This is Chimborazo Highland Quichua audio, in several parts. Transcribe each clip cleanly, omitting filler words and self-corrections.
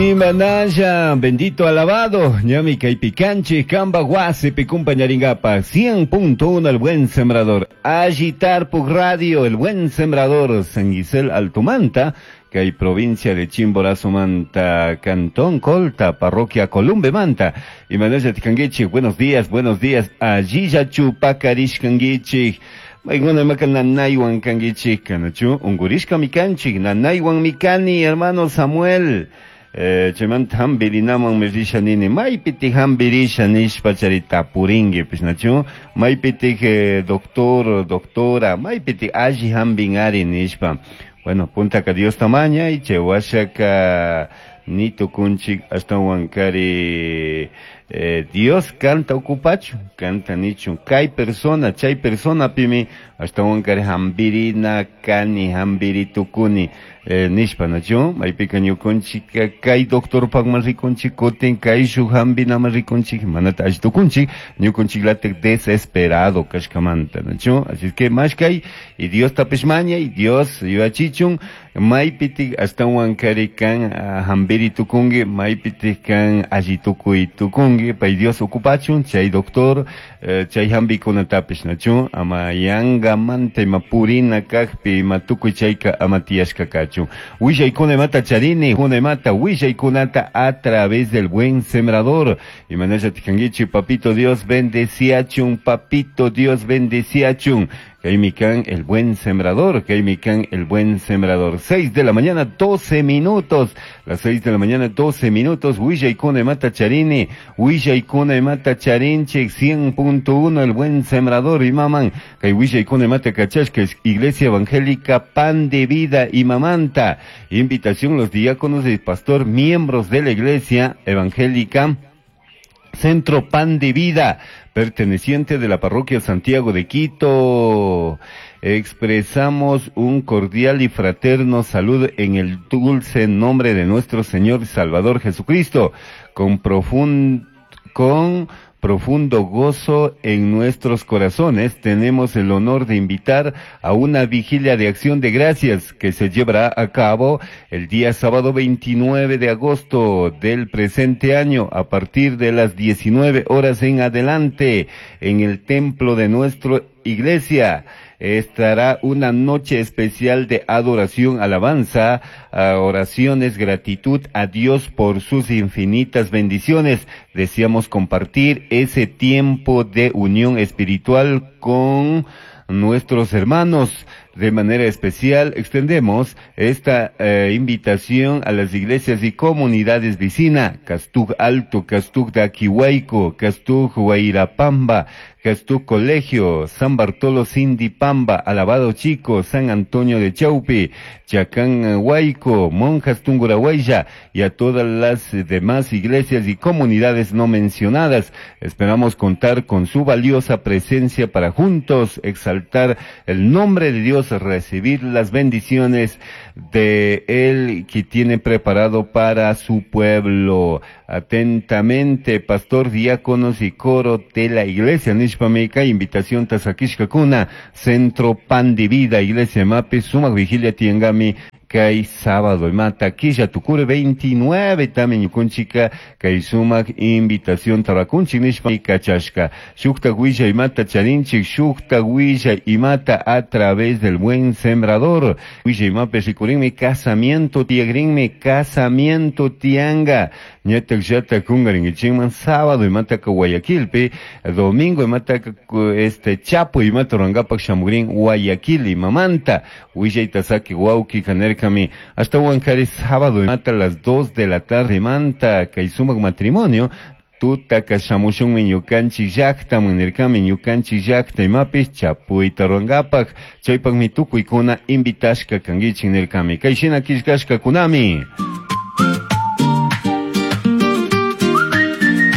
Imanalla, bendito alabado, ñami kaypi kanchik, kamba wasipi kumpañaringapaj, 100.1 El Buen Sembrador, Alli Tarpuk Radio, El Buen Sembrador, San Gisel Altumanta, kay provincia de Chimborazo Manta, Cantón Colta, Parroquia Columbe Manta. Imanalla tikanguichik, buenos días, allilla chupakarishkanguichik. Maykuna imaka nanaywan kanguichik, kanachu, ungurishka mikanchik, nanaywan mikani, hermano Samuel. Chaymanta hampirinaman risha nini, maypitik hampirisha nishpa chari tapurinki pis nachu, maypitik doctor, doctora, maypitik alli hampinari nishpa. Bueno, puntaka Dios tamaña y chay washaka ni tukunchik ashtawan kari Dios kanta okupachu, kanta nichun, kay persona, chay persona pimi ashtawan kari hampirina kani, hampiri tukuni. Nishpa nachu, maypika ñukunchik kay doctorpakman rikunchik, kutin kay shuk hampinaman rikunchik, manata alli tukunchik, ñukunchiklatik desesperado kashkamanta nachu, así es que mashkay y Dios tapish maña y Dios yuachichun, maypitik ashtawan kari kan hampiri tukunki, maypitik kan alli tukuy tukunki, pay Dios okupachun, chay doctor, chay hampikunatapish nachu, ama yangamanta ima purina kakpi, ima tukuy chayka ama tiyashka kachun. Willaykuna imata charini, kuna imata willaykunata a través del Buen Sembrador. Y manalla tikanguichi, papito Dios bendeciachun, papito Dios bendeciachun. Kaimikan el Buen Sembrador, Kaimikan el Buen Sembrador. 6 de la mañana, 12 minutos. Las 6 de la mañana, 12 minutos. Willaykuna imata charini, willaykuna imata charinchik, 100.1 el Buen Sembrador. Y maman, kay willaykuna imata kachashka, es Iglesia Evangélica Pan de Vida y Mamanta. Invitación los diáconos y pastor, miembros de la Iglesia Evangélica Centro Pan de Vida, perteneciente de la parroquia Santiago de Quito. Expresamos un cordial y fraterno saludo en el dulce nombre de nuestro Señor y Salvador Jesucristo, con profundo gozo en nuestros corazones. Tenemos el honor de invitar a una vigilia de acción de gracias que se llevará a cabo el día sábado 29 de agosto del presente año a partir de las 19 horas en adelante en el templo de nuestra iglesia. Estará una noche especial de adoración, alabanza, oraciones, gratitud a Dios por sus infinitas bendiciones. Deseamos compartir ese tiempo de unión espiritual con nuestros hermanos. De manera especial extendemos esta invitación a las iglesias y comunidades vecinas, Castug Alto, Castug de Aquihuayco, Castug Huairapamba, Castug Colegio, San Bartolo Sindipamba, Alabado Chico, San Antonio de Chaupi, Chacán Huayco, Monjas Tungurahuaya y a todas las demás iglesias y comunidades no mencionadas. Esperamos contar con su valiosa presencia para juntos exaltar el nombre de Dios, recibir las bendiciones de Él que tiene preparado para su pueblo. Atentamente, pastor, diáconos y coro de la iglesia Nishpameca, invitación Tazakishkakuna, Centro Pan de Vida, Iglesia Mape, Sumac Vigilia Tiangami, kay sábado imata quilla tukure 29 también ñukunchika kay sumak invitación tarakunchik nishpa kachashka shukta huilla imata charinchik shukta huilla imata a través del Buen Sembrador huilla imape rikurinmi casamiento tiagrinmi casamiento tianga ñatak llata kungarinkichikman sábado imata ka Guayaquilpi domingo imata ka este Chapo imata rurankapak shamugrin Guayaquil imamanta huillayta saki wawki kanerka kami hasta Huancarí sábado mata a las 2 de la tarde manta kay sumak matrimonio tutaka shamushunmi ñukanchik llaqtaman nirkami ñukanchik llaqta imapis chapuyta rurankapak chaypakmi tukuykuna invitashka kankichik nirkami kay shina killkashkakunami.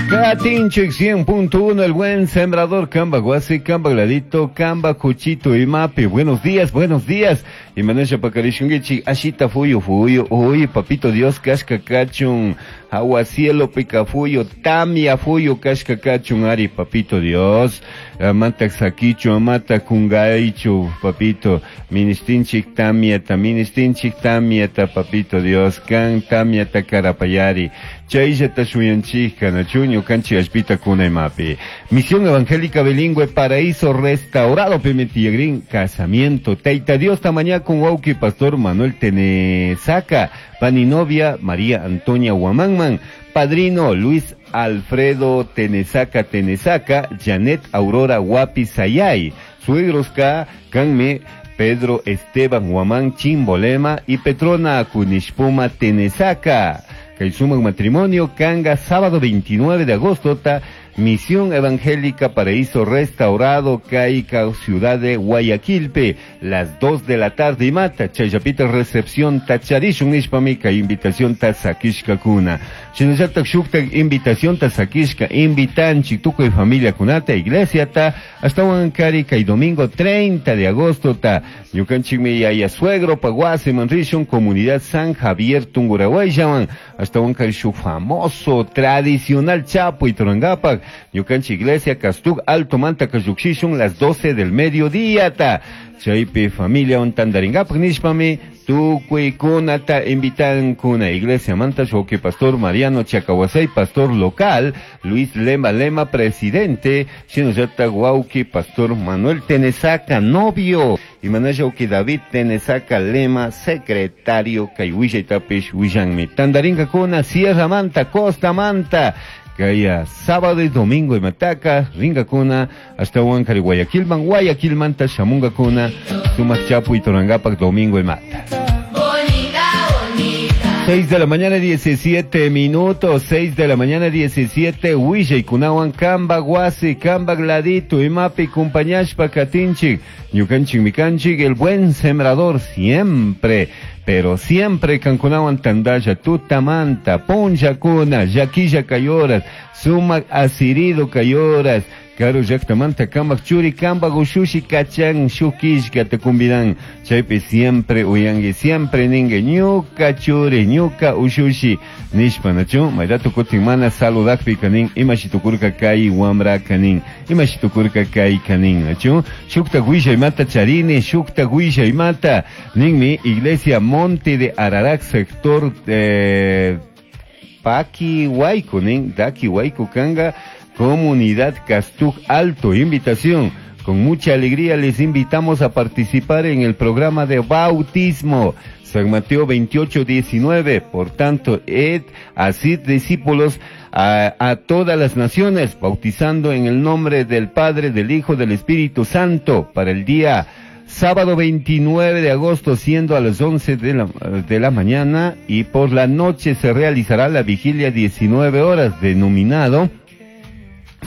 Katinchik 100.1, el Buen Sembrador, Kamba Guasi, Kamba Gladito, Kamba Cuchito y Mapi. Buenos días, buenos días. Y Manesha Pakarishungichi, Ashita Fuyu Fuyu, Uy, Papito Dios, Kashka Kachun, Hawa cielopi kafuyu, tamia fuyu kashka kachun ari, papito Dios. Amata sakichu, amata kungaichu, papito. Ministinchik tamiata, ministinchik tamiata, papito Dios. Kan tamiata karapayari. Chayllata shuyanchik, nachu ñukanchik allpita kunaymapi. Misión Evangélica Bilingüe Paraíso Restaurado Pimentiyagrin, casamiento. Taita Dios tamaña con wauki Pastor Manuel Tenesaca, paninovia María Antonia Huamánman, padrino Luis Alfredo Tenesaca Tenesaca, Janet Aurora Guapi Sayay, suegros K, Canme, Pedro Esteban Huamán Chimbolema y Petrona Kunishpuma Tenesaca. Kay sumak matrimonio kanga sábado 29 de agosto ta Misión Evangélica Paraíso Restaurado Caica Ciudad de Guayaquilpe las 2 de la tarde y mata chayapita recepción tacharishun nishpami kay invitación ta sakishka kuna shinallatak shuktak invitación ta sakishka invitanchik tukuy familia kunata iglesia ta ashtawan kari kay domingo 30 de agosto ta ñukanchikmi yaya suegro paguasiman rishun comunidad San Javier Tungurahua ashtawan kari shuk famoso tradicional chapu y turangapak ñukanchik iglesia Castug Alto Manta Kayukshishun las 12 del mediodía ta chaypi familia tandaringapak nishpami tukuy kunata invitan kuna iglesia manta shoki pastor Mariano Chacahuasay pastor local Luis Lema Lema presidente shinallata wauki pastor Manuel Tenesaca novio y manayauki David Tenesaca Lema secretario kay willaytapish willanmi tandaringa kuna Sierra Manta Costa Manta Kaya sábado y domingo y mataka, ringa kuna, hasta Huancar y Guayaquilman, Guayaquilmanta, shamunga kuna, sumak chapu y torangapak domingo y mata. Bonita, bonita. 6 de la mañana 17 minutos, 6 de la mañana 17, Huilla y Kunawan, Kamba, Guasi, Kamba, Gladito, Imapi, Cumpañashpa, Katinchik, Ñukanchik, Mikanchik, el buen sembrador siempre, pero siempre Kankunawan Tandaya, Tutamanta, Punja Kuna, Yaquilla Cayoras, Sumac Asirido Cayoras, Karu llaktamanta kamak churi kamba gushushi kachan shukishka te kumbidan chaypi siempre uyangi siempre ningue ñuka churi ñuka ushushi nishpa nachu mayrato kutin mana saludakpi kanin imashi tukurka kay wamra kanin imashi tukurka kay kanin nachu shukta willaymata charini shukta willaymata ninmi iglesia Monte de Ararat sector Paqui Huayco nin Daki Huayco kanga Comunidad Castug Alto, invitación. Con mucha alegría les invitamos a participar en el programa de bautismo. San Mateo 28, 19. Por tanto, ed así discípulos a todas las naciones, bautizando en el nombre del Padre, del Hijo, del Espíritu Santo, para el día sábado 29 de agosto, siendo a las 11 de la mañana, y por la noche se realizará la vigilia 19 horas, denominado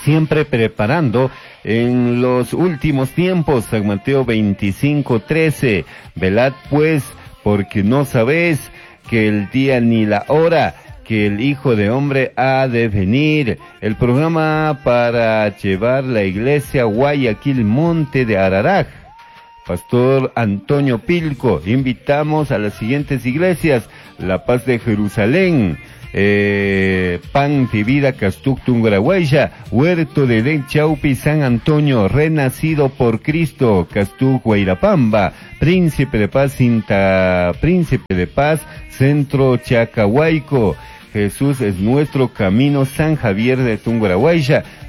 Siempre preparando en los últimos tiempos, San Mateo 25, 13. Velad pues, porque no sabéis que el día ni la hora que el Hijo de Hombre ha de venir. El programa para llevar la iglesia a Guayaquil, Monte de Ararat. Pastor Antonio Pilco, invitamos a las siguientes iglesias: La Paz de Jerusalén, Pan de Vida Castuc Tungurahua, Huerto de Edén Chaupi San Antonio, Renacido por Cristo Castuc Guairapamba, Príncipe de Paz Cinta, Príncipe de Paz Centro Chacahuayco, Jesús es nuestro camino San Javier de Tungurahua,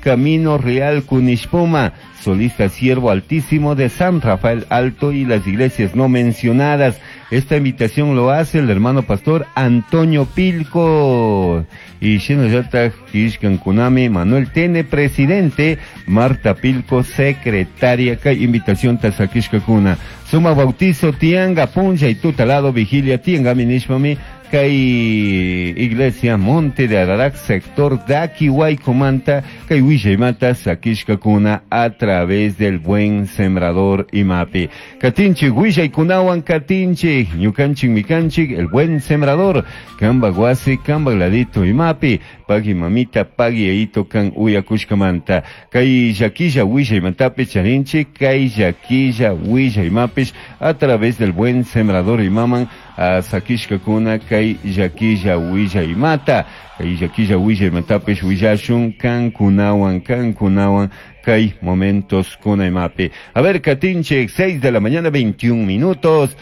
Camino Real Cunishpuma, Solista Siervo Altísimo de San Rafael Alto y las iglesias no mencionadas. Esta invitación lo hace el hermano pastor Antonio Pilco. Y Shinayata Kishkan Kunami, Manuel Tene, presidente, Marta Pilco, secretaria. Kay invitación tasakishka kuna. Suma bautizo, tianga, punja y tutalado, vigilia, tianga, minishmami. Kay iglesia Monte de Ararat, sector Daki Huaycomanta, kay Willaymata, Sakishka kuna a través del buen sembrador Imapi. Katinchi, Willaykunawan, Katinchi, Ñukanchik, Mikanchik, el buen sembrador, Kamba Guasi, Kamba Gladito Imapi, Pagui Mamita, Pagui Eito, Kan Uyakushkamanta, Kay Yaquilla, Willaymantapi, Charinchi, Kay Yaquilla, Willaymapish, a través del buen sembrador Imaman, Sakishkakuna kay llakilla willaymata, kay llakilla willaymatapish willashun kankunawan, kankunawan kay momentos kunaymapi. A ver, katinchik, 6 de la mañana, 21 minutos.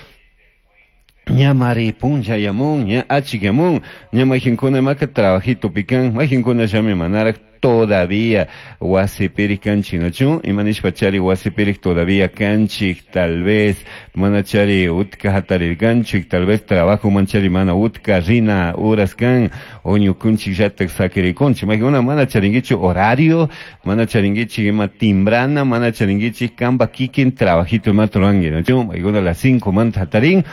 Ñamari puncha yamun, ña achik yamun, ña mayqinkuna imaka trabajito pican, mayqinkuna llami manaraq todavía wasipirik kanchik, ¿no? Imanishpa chari wasipirik todavía kanchik, tal vez mana chari utka hatarirkanchik, tal vez trabajo manchari mana utka rina uras kan, o ñukunchik llatak sakirikunchik, mayqinkuna mana charinkichu horario, mana charinkichik ima timbrana, mana charinkichik kanpa kikin trabajito imata ruranki, ¿no? Mayqinkuna a las 5 manta hatarin,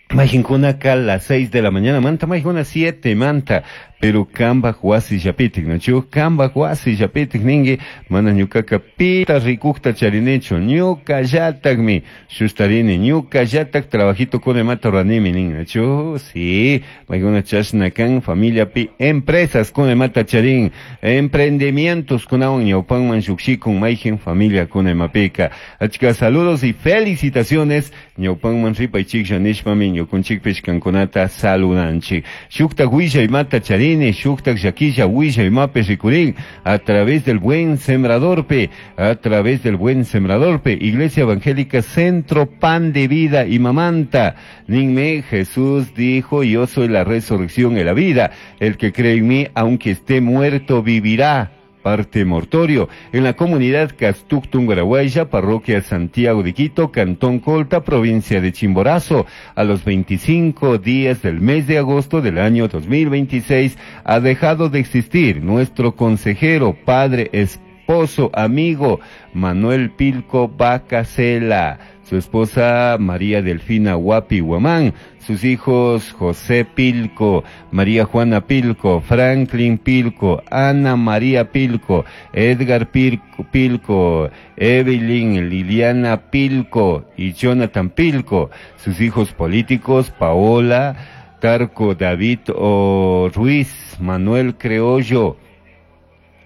Mayqinkunaka a las 6 de la mañana manta, mayqinkuna 7 manta, pero kanpak wasillapitik, ¿no? Kanpak wasillapitik ninki, mana ñukaka pita rikukta charinichu, ñukallatakmi shustarini, ñukallatak trabajito kuna imata ruranimi nin, ¿no? Sí, mayqinkuna chashna kan familiapi empresas kuna imata charin, emprendimientos kunawan ñawpanman llukshikun mayqin familia kuna imapika. Achka saludos y felicitaciones, ñawpanman ripaychiklla nishpami ñukunchikpish kankunata saludanchik. Shuktak willaymata charini, shuktak llakilla willaymapi rikurin, a través del Buen Sembrador pe, a través del Buen Sembrador pe, Iglesia Evangélica Centro Pan de Vida y Mamanta. Ninme, Jesús dijo, yo soy la resurrección y la vida, el que cree en mí, aunque esté muerto, vivirá. Parte mortorio, en la comunidad Castuc Tungurahua, parroquia Santiago de Quito, Cantón Colta, provincia de Chimborazo, a los 25 días del mes de agosto del año 2026, ha dejado de existir nuestro consejero, padre, esposo, amigo, Manuel Pilco Bacasela, su esposa María Delfina Huapi Huamán, sus hijos José Pilco, María Juana Pilco, Franklin Pilco, Ana María Pilco, Edgar Pilco, Evelyn Liliana Pilco y Jonathan Pilco, sus hijos políticos Paola, Tarco, David o Ruiz, Manuel Creollo,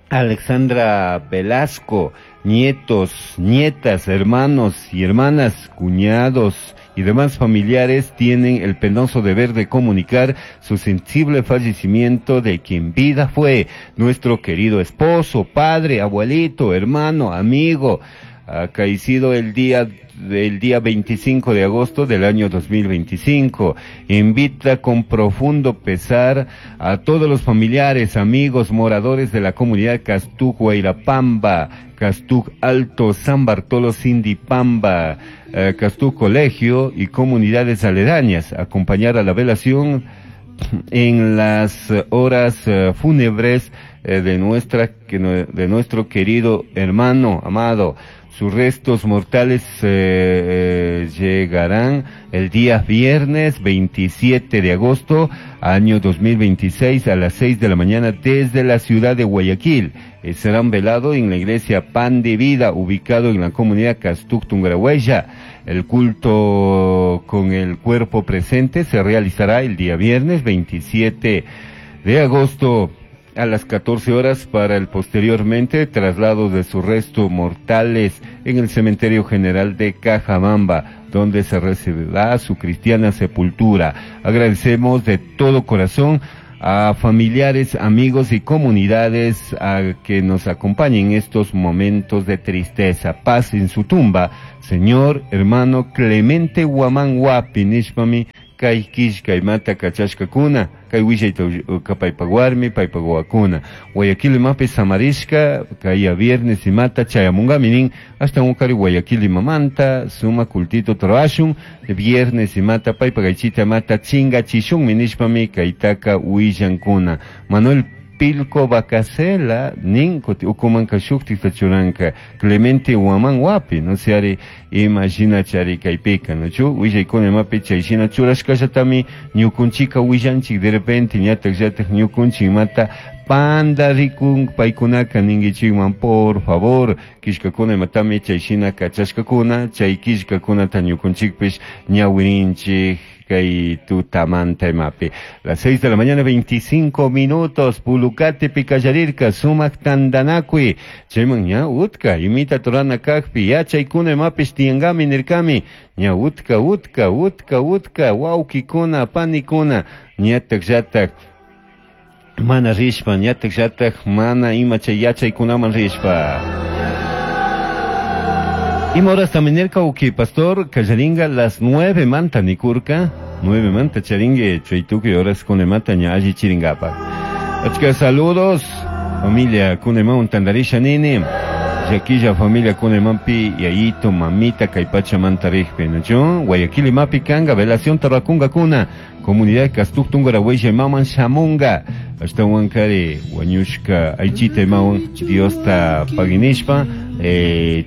Alexandra Velasco, nietos, nietas, hermanos y hermanas, cuñados y demás familiares tienen el penoso deber de comunicar su sensible fallecimiento de quien vida fue nuestro querido esposo, padre, abuelito, hermano, amigo, acaecido el día del día 25 de agosto del año 2025. Invita con profundo pesar a todos los familiares, amigos, moradores de la comunidad Castuc, Huayrapamba, Castuc Alto, San Bartolo, Sindipamba, Castuc Colegio y comunidades aledañas, acompañar a la velación en las horas fúnebres de nuestro querido hermano amado. Sus restos mortales llegarán el día viernes 27 de agosto, año 2026, a las 6 de la mañana desde la ciudad de Guayaquil. Serán velados en la iglesia Pan de Vida, ubicado en la comunidad Castuc Tungurahua. El culto con el cuerpo presente se realizará el día viernes 27 de agosto a las 14 horas para el posteriormente traslado de sus restos mortales en el Cementerio General de Cajabamba, donde se recibirá su cristiana sepultura. Agradecemos de todo corazón a familiares, amigos y comunidades a que nos acompañen en estos momentos de tristeza. Paz en su tumba, señor hermano Clemente Huamán Huapi, nishpami kay killkaymata kachashkakuna, kay willayta paypak warmi, paypak wawakuna. Guayaquil imapi samarishka, kay viernes imata chayamunkami nin, hasta unkari Guayaquil imamanta, suma cultito trabashun, viernes imata paypak aychita imata chingachishunmi nishpami kaytaka willankuna. Manuel Pilco Bacasela nin ukumanka shuktikta churanka Clemente Huamán Huapi, no se ari imagina chari kaypika, no chu willaykuna imapi chayshina churashkallatami ñukunchika willanchik de repente ñatak llatak ñukunchik imata panda rikun paykunaka ninkichikman por favor killkakuna imatami chayshina kachashkakuna chay killkakunata ñukunchikpish ñawirinchik. Kay tutamanta imapi. Las 6 de la mañana 25 minutos, Pulucate pikallarirka, sumak tandanakuy, chayman ña utka, imita turana kakpi, yachaykuna imapish tiyangami nirkami, ña utka, utka, utka, utka, wawkikuna, panikuna, ñatak llatak, mana rishpa, ñatak llatak, mana ima chay yachaykunaman rishpa. Ima horas también nirka uki pastor kallaringa las 9 manta nikurka, 9 manta charingue chaytukuy horas kunemata ña alli chiringapa. Achka saludos, familia kuneman tandarisha nini, llaquilla familia kunemanpi yayito, mamita, kay pachamanta rijpi, ¿no? Guayaquil imapi kanga, velación tarrakunga kuna, comunidad Castuc Tungurahua maman shamunga, ashtahuankari wañushka aychita imawan Diosta paginishpa,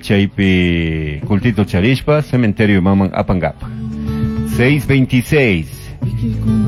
chaypi cultito charishpa, cementerio maman apangapa. 6:26.